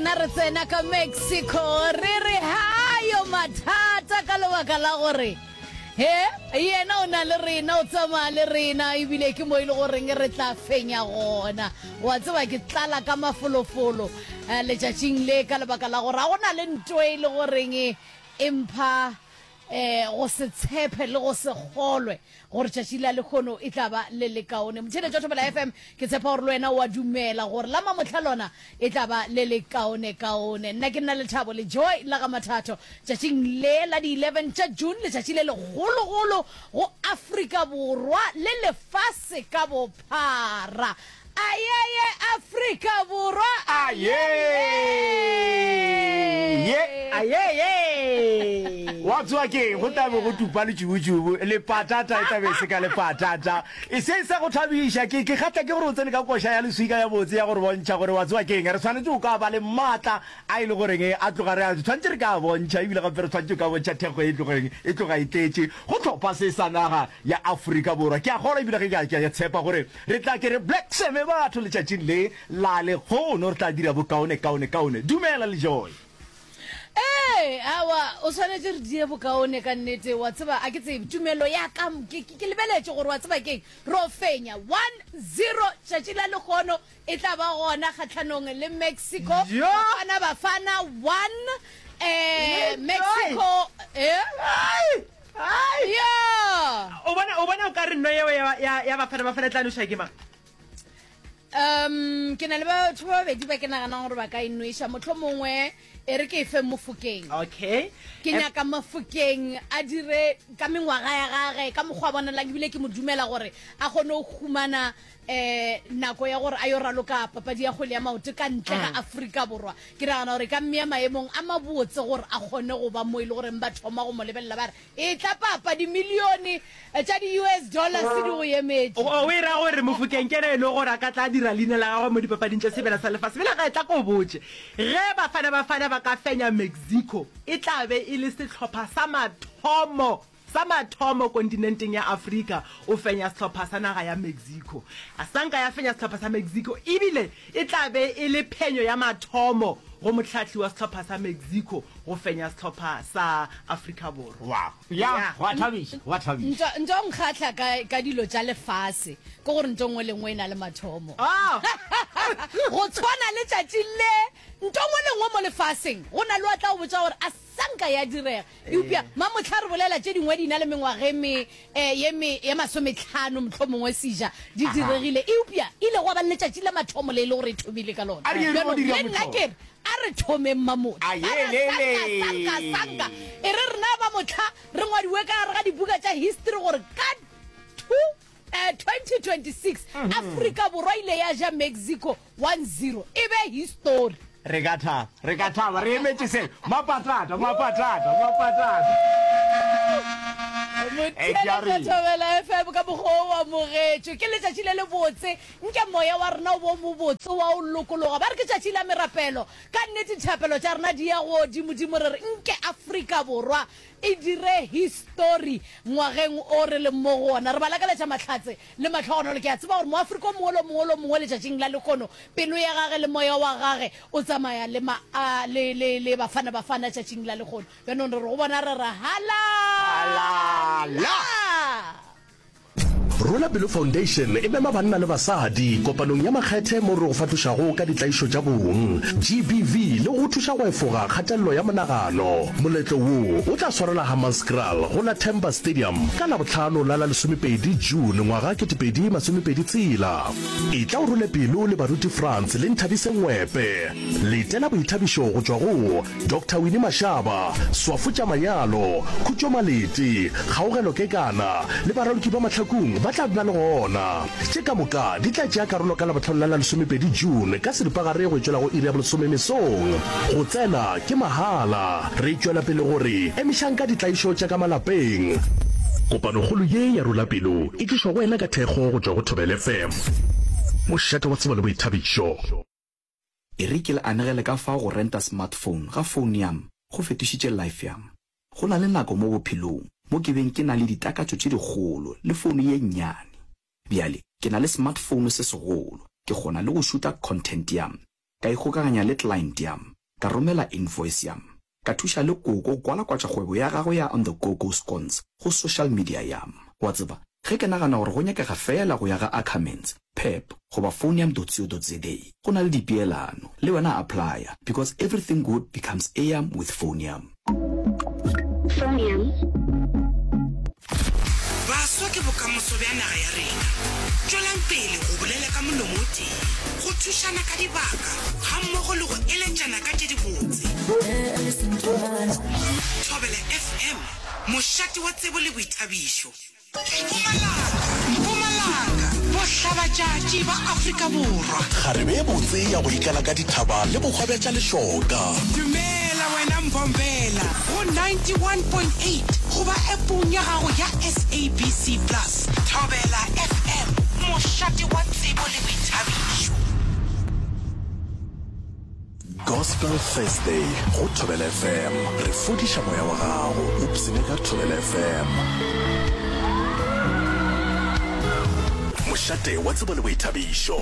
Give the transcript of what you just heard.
rena re tsena ka Mexico re re hayo mathata ka lebaka la gore he yena o na le rena o tsamaya le rena ebile ke mo e le goreng re tla fenya gona wa tseba ke tlala ka mafolofolo eh, letšatšing le ka lebaka la gore ga go na le nto e le goreng e mpha um go se tshepe le go se kgolwe gore tšatši la lehono e tla ba le lekaone. Motheeletši wa Thobela FM, ke tshepa gore le wena o a dumela gore la mamohla lona e tla ba le lekaonekaone. Nna ke nna Lethabo le Joy la ga Mathatho tšatšing le la di 11 tša June, letšatši le legologolo go Afrika Borwa le lefase ka bophara. Ayeye Afrika Borwa Ayeye! Ayeye! Wa tseba ke eng? Go tla be go tupa letšubutšubu, le patata e tla be e se ka le patata. E se sa go thabiša, ke, ke kgahla ke gore o tsene ka koša ya leswika ya botse ya go re bontšha gore wa tseba ke eng, re swanetše go ka ba le maatla a e le goreng a tloga re a tshwanetše re ka a bontšha, ebile gape re tshwanetše go ka bontšha thekgo e tlogeng e tloga e tletše go hlopha se sa naga ya Afrika Borwa. Ke a kgolwa ebile ge ke a, ke a tshepa gore Re tla ke re Black Seme batho letšatšing le la lehono re tla dira bokaone kaone kaone. Dumela le Joy. Ee, aowa, o swanetše re die bokaone ka nnete, wa tseba, a ke tsebe, tumelo ya ka, ke, ke, ke lebeletše gore, wa tseba keng, ro fenya, 1-0, tšatši la lehono e tla ba gona kgahlanong le Mexico, Yo! Bafana Bafana 1, eh, Le Joy! Mexico, eh? Ai! Ai! Ya! O bona, o bona o ka re nno yeo ya, ya, ya Bafana Bafana e tla noša ke mang? Um, ke na le batho ba babedi ba ke naganang gore ba ka e nweša. Mohlomongwe e re ke e fe Mofokeng. Okay. Ke nyaka Mofokeng a dire ka mengwaga ya gage, ka mokgwa a bonalang, ebile ke mo dumela gore a kgone go humana um nako ya gore a yo raloka papadi ya kgwele ya maoto ka ntle ga Afrika Borwa. Ke nagana gore e ka mmea maemong a mabotse gore a kgone go ba mo e le goreng ba thoma go mo lebelela ba re, Etla papa, dimilione tša di-US dollars di go emetše. O e ra gore Mofokeng ke yena e lego gore a ka tla dira leina la gagwe mo dipapading tša Sebjana sa Lefase. Bjale ge, tla ko botše, ge Bafana Bafana ba ka fenya Mexico, e tla be e le sehlopha sa mathomo Sa mathomo kontinenteng ya Afrika o fenya sehlopha sa naga ya Mexico. A sa nka ya fenya sehlopha sa Mexico ebile e tla be e le phenyo ya mathomo go mohlahli wa sehlopha sa Mexico go fenya sehlopha sa Afrika Borwa. Wow. Ya, go a thabiša, go a thabiša. Nto, nto nkgahla ka, ka dilo tša lefase ke gore nto nngwe le nngwe e na le mathomo. Oh. Go tshwana le tšatši le, nto nngwe le nngwe mo lefaseng go na le wa tla go botša gore a sa nka ya direga. Eupša mamohla re bolela tše dingwe di na le mengwaga e me, eh, ye me, ye masometlhano mohlomongwe seja di diregile, eupša e ile gwa ba le letšatši la mathomo le e le gore e thomile ka lona. A re ye re Bjalo, go dira le nna mohlolo. ke re, a re thomeng mamohla. A ye, Ba ra le, le. sanka, sanka, sanka. E re rena ba mohla re ngwadiwe ka gare ga dibuka tša history gore ka two, eh, 2026 Afrika Borwa ile ya ja Mexico 1-0 e be histori. Re ka thaba, re ka thaba, re emetše se. Mapatata, mapatata, mapatata. Motheeletša Thobela FM ka mokgwa o amogetšwe. Ke letšatši le lebotse. Nke moya wa rena o bo mobotse wa o lokologa. Ba re ke tšatši la merapelo. Ka nnete dithapelo tša rena di ya godimodimo re re nke Afrika Borwa e dire histori ngwageng o re leng mo go wona. Re ba lakaletša mahlatse le mahlogonolo. Ke a tseba gore Moafrika o mongwe le o mongwe le o mongwe letšatšing la lehono, pelo ya gage le moya wa gage o tsamaya le ma, a, le, le, le Bafana Bafana tšatšing la lehono. Bjanong re re go bona re re, Halala! Halala! Rola Pelo Foundation e mema banna le basadi kopanong ya makgethe mo re go fahlošago ka ditlaišo tša bong, GBV, le go go thuša go efoga kgatelelo ya monagano. Moletlo wo o tla swarelwa Hammanskraal go la Themba Stadium ka Labohlano la la lesomepedi June ngwaga 2026. Etla o role pelo le Baruti Frans le Nthabise Ngwepe. Letela boithabišo go tšwa go Doctor Winnie Mashaba, Swafo tša Manyalo, Khutšo Malete, Kgaogelo Kekana le baraloki ba Mahlakung ba tla be ba le gona. Tše ka moka di tla tšea karolo ka Labohlano la la lesomepedi June ka seripagare go tšwela go iri ya bolesome mesong. Go tsena ke mahala. Re tšwela pele go re emišang ka ditlaišo tša ka malapeng. Kopanokgolo ye ya Rola Pelo e tlišwa go wena ka thekgo go tšwa go Thobela FM, mošate wa tsebo le boithabišo. E re ke le anegele ka fao go renta smartphone ga phone yam go fetošitše life yam. Go na le nako mo bophelong mo ke beng ke na le ditakatšo tše dikgolo le phone ye nnyane. Bjale ke na le smartphone se segolo, ke kgona le go šuta content yam, ka ikgokaganya le client yam. Ka romela invoice yam. Ka thuša le koko go kwalakwatša kgwebo ya gagwe ya On The Go Go Scones go social media yam. Wa tseba, ge ke nagana gore go nyakega feela go ya ga Ackermans, Pep, goba Phonium.co.za, go na le dipeelano. Le wena applya, because everything good becomes eyam with Phonium. Phonium. Baswa ke bokamoso bja naga ya rena. Tšwelang pele go bolela ka molomo o tee, go thušana ka dibaka gammogo le go eletšana ka tše dibotse. Thobela FM, mošate wa tsebo le boithabišo. Mpumalanga, Mpumalanga, bohlabatšatši ba Afrika Borwa. Kgarebe ye botse ya go ikala ka dithaba le bohwa bja tša lešoka. Dumela wena Mbombela go 91.8 goba appong ya gago ya SABC Plus. Thobela FM, mošate wa tsebo le boithabišo. Gospel Thursday go Thobela FM. Re fodiša moya wa gago. O psine ka Thobela FM. Mošate wa tsebo le boithabišo.